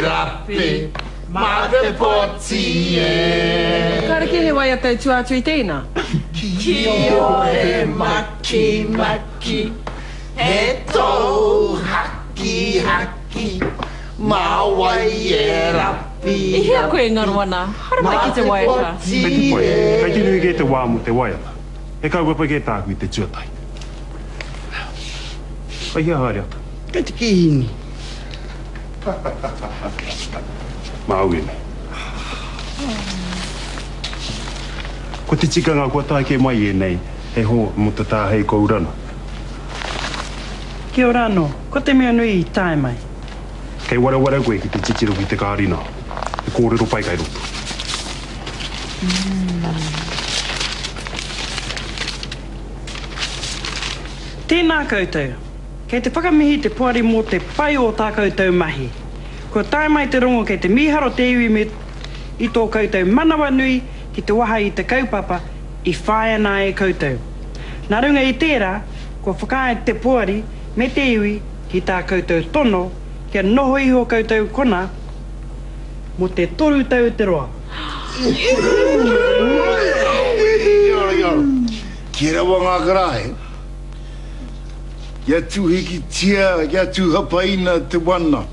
rapi mā te poti e. Kāre kē he waiata i tua atu i tēnā. Kiore makimaki, he tou hakihaki, mā wai e rapi I hea koe e ngaro ana? Haere mai ki te waiata. Kei te pai, kei te nui kē te wā mō te waiata. He kaupapa kē tāku i te tuatahi. Kei hea haere atu? Kei te kīhini. Māu ēnei. Ko te tikanga kua tae kē mai ēnei hei hoa mō te tāhei kourana. Kia ora anō. Ko te mea nui i tae mai. Kei wareware koe ki te titiro ki te kārina. He kōrero pai kei roto. Tēnā koutou. Kei te whakamihi te poari mō te pai o tā koutou mahi. Kua tae mai te rongo kei te mīharo te iwi me i tō koutou manawanui ki te waha i te kaupapa i whāia nā e koutou. Nā runga i tērā, kua whakaae te poari me te iwi ki tā koutou tono kia noho iho koutou kona mō te toru tau te roa. Kia rawa ngā karaehe, kia tūhikitia, kia tūhapaina te wana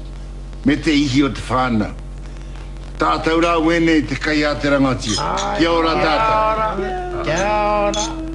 me te ihi o te whānau. Tātou rā wēnei te kai a te rangatira. Kia ora tātou. Kia ora.